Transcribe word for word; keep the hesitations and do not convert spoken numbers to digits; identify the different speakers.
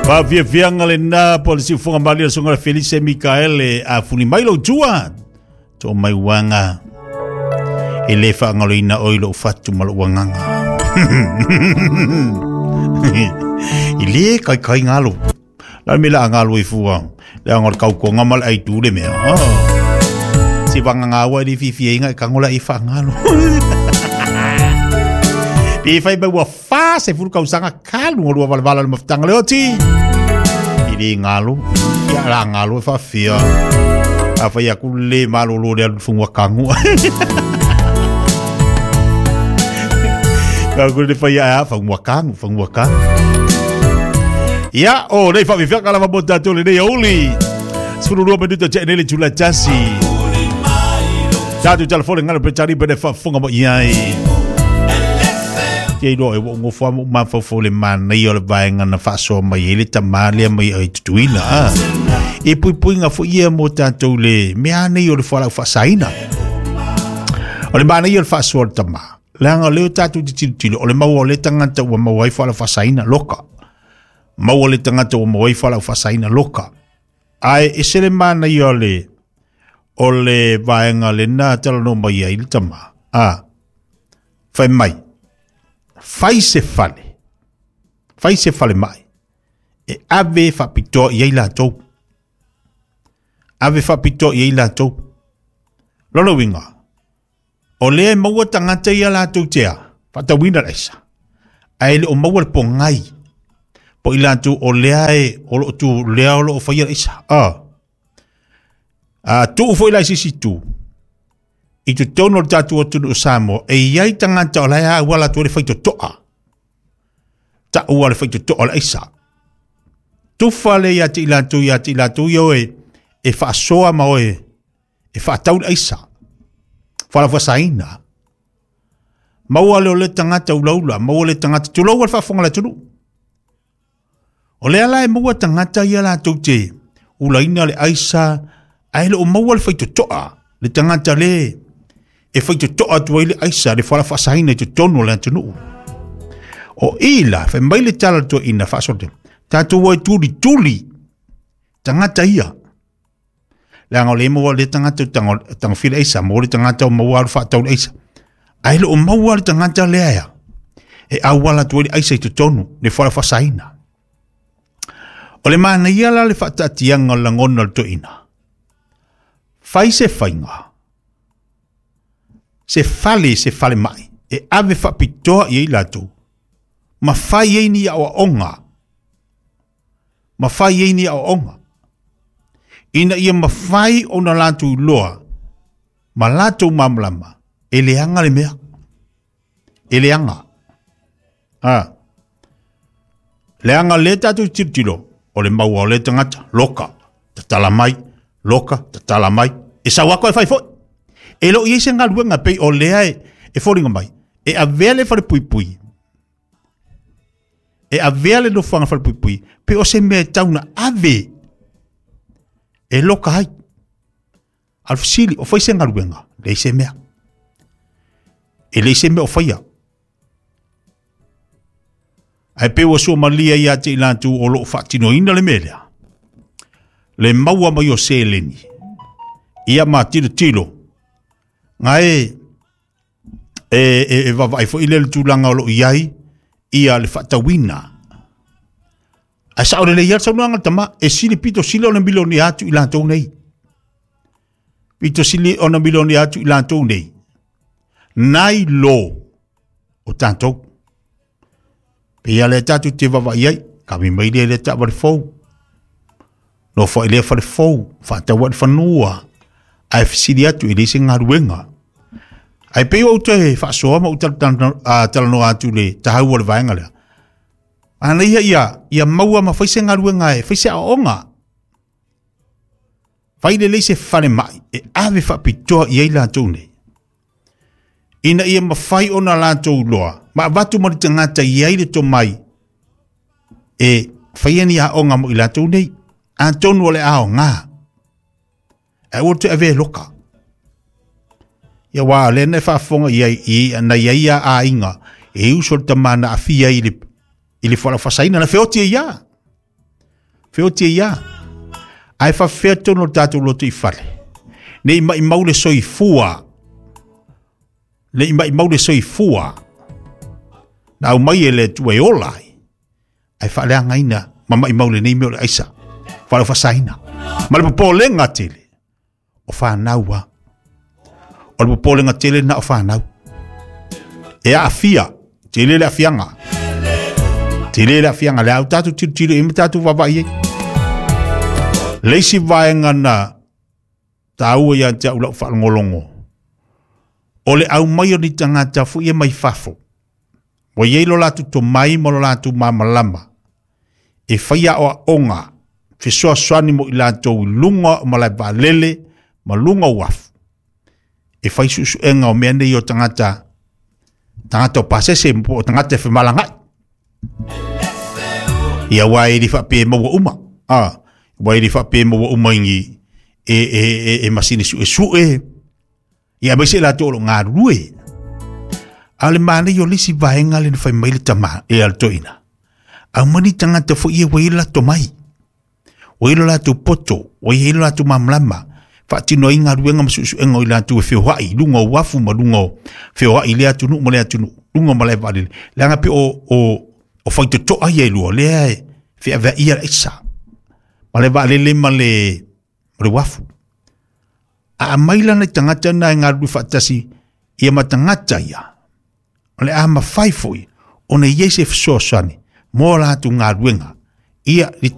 Speaker 1: Faafiafiaga lenā po le siufoga malia le suaga Felise Mikaele a fuli mai lou tua to mai uaga e lē faagaloina oi lou fatu ma lou agaga i lē kaikai galo la me la galo i fua le aga o le kaukoga ma le aitu le mea si vagagāua i le fiafiaiga e kago la i faagalo pe fai mai ua fa se fulu kausaga kalu o lua valavala o le mafutaga le oti i lē galo ia la galo e faafia a fai aku le malolo le alu fugua kagu ka le fai a fagua kagu fagua kagu ia o nei faafiafiaga lava mo tatou lenei auli sefulu lua minuta te'e nei le tula tasi tatou telefone galo petali pene faafofoga mai ai te iloa e ua ugofo a mo mafaufau le manaia o le vaega na faasoa mai ai le tamā lea mai ai Tutuila a e puipuiga fo'i ia mo tatou le mea nei o le fualaau faasaina o le manaia o le faasoa o le tamā leaga o lea o tatou te tilotilo o le maua o le tagata ua maua ai fualaau faasaina loka maua le tagata ua maua ai fualaau faasaina loka ae ese le manaia o le o le vaega lena talanoa mai ai le tamā a fai mai fai se fale fai se fale mai e ave faapitoa i ai latou ave faapitoa i ai latou lona uiga o lea e maua tagata ia latou tea faatauina le aisa ae le o maua le pogai po i latou o lea e o loo tu lea o loo faia le aisa a a tuu foi la i sisi tu i totonu o le tatou atunuu o Samoa e iai tagata o la e auala atu ai le faitotoa taua le faitotoa o le aisa tufa le ia te i latou ia te i latou ia oe e faasoa ma oe e faatau le aisa falafasaina maua le o le tagata ulaula maua le tagata tulou le faafofoga le atunuu o lea la e maua tagata ia latou te ulaina le aisa ae le o maua le faitotoa le tagata le e faitotoa atu ai le aisa le falafaasaina i totonu o le atunuu o ila fai mai le tala toeaina faasoa tatou ai tulituli tagata ia leaga o le maua le tagata tagofia le aisa maua le tagata o maua alu faatau le aisa ae le o maua le tagata lea ea e auala atu ai le aisa i totonu le falafaasaina o le manaia la le faataatiaga o le lagona o le toeaina fai se faiga se fale se fale mai e ave faapitoa i ai latou ma fai ai ni aoaoga ma fai ai ni aoaoga ina ia mafai ona latou iloa ma latou malamalama e leaga le mea e leaga a leaga lea tatou tilotilo o le maua o le tagata loka tatala mai loka tatala mai e sau ako e fai foi e loo iai se galuega pei o lea e, e foliga mai e avea le falepuipui e avea le nofoaga falepuipui pe o se mea e tauna ave e loka ai a le fesili o fai se galuega leai se mea e leai se mea o faia ae pe ua suamalia ia te i latou o loo faatinoina le mea lea le maua mai o seleni ia ma tilotilo gae e, e, e vavaai foi le le tulaga o loo i ai ia le faatauina ae sao lelei ia le saunoaga le tama e sili pito sili ona milioni atu i latou nei pito sili ona milioni atu i latou nei nai lo o tatou pe ia le tatou te vavaai ai kami mai le le taavale fou nofo ai lea fale fou faatau ai le fanua ae fesili atu i le se galuega ae pei ou te faasoa ma ou talanoa atu le taua o le vaega lea anaia ia ia maua ma fai se galuega e fai se aoaoga fai lelei se fale mai e ave faapitoa i ai latou nei ina ia mafai ona latou iloa ma avatu ma le tagata i ai le tomai e faia ni aoga mo i latou nei atonu o le aoga ae ua toe avea e loka ia ua lea na faafofoga i ai i na i ai ia aiga e uso le tamā na aafia i le i le fualaau faasaina na feoti ai ia Feoti ai lava. Ae faapefea totonu o le tatou lotoifale, ne i maumau le soifua, ne i maumau le soifua na aumai e le Atua e ola ai, ae faaleagaina ma maumau lenei mea o le aisa, faaleofasaina. Ma le popolega tele, o fanau lava. O le popolega tele lena o fanau. E aafia, tele le aafiaga. Tele le aafiaga, lea ua tatou tilotilo i ai ma tatou vaavaai i ai. Le isi vaega na taua ia te au lau faalogologo, o le aumai o ni tagata foi ia mai fafo, ua i ai lo latou tomai ma lo latou malamalama, e faia aoaoga fesoasoani mo i latou i luga o malae vaalele ma luga o uafu, e fai suesuega o mea nei o tagata, tagata o pasese po o tagata e femalagaai. Ia aua e le faapea e maua uma, a, aua e le faapea e maua uma i ni e, e, e, e masini suesue, ia aemaise i latou o lo o galulue. A o le manaia o le isi vaega lea na fai mai le tama e a le toeaina, aumai ni tagata foi ia ua i ai le latou tomai, ua i ai lo latou poto, ua i ai lo latou malamalama, faatino ai galuega ma suesuega o i latou e feoai i luga o uafu ma luga o feoai i lea atunuu ma lea atunuu, luga o malae vaalele. Leaga pei o, o, o faitotoa ia e lua, lea e feaveaia le aisa, malae vaalele ma le, ma le uafu. A aumai la nai tagata na e galulue faatasi ia ma tagata ia, o le a mafai foi ona i ai se fesoasoani mo latou galuega ia i